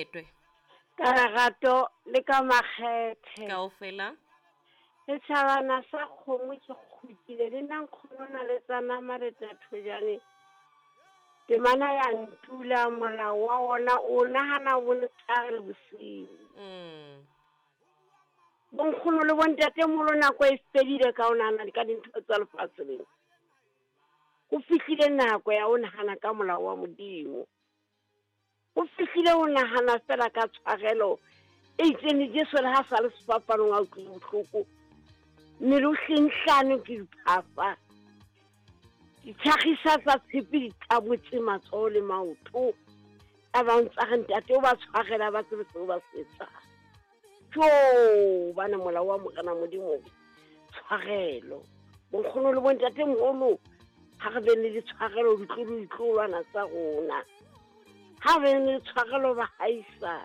Retwe. Ka lerato le ka makgethe. Kaofela. Setšhabana sa kgomo ke kgutlile le nna nkgono na le tsa nama le tsa thojane. Temana ya ntula molao wa ona o nahana bo letshehare le bosiu. Bonkgono le bontatemoholo nako e fedile ka ho nahana ka dintho tsa lefatshe lena. Ho fihlile nako ya ho nahana ka molao wa Modimo. Ho fihlile ho nahana fela ka tshwarelo e itseng le Jesu le ha sa le sefapanong a utlwile bohloko. Mmele o hlenghlane ke diphafa. Ditlhagisa tsa tshepe di tabotse matsoho le maoto. A ba ntsa re ntate o ba tshwarela ba tsebe seo ba se etsang. Jo, bana molao wa Morena Modimo tshwarelo. Bonkgono le bontate moholo ha re beng le ditshwarelo ditlolo ditlolwana tsa rona. Ha re beng le tshwarelo bahaisane.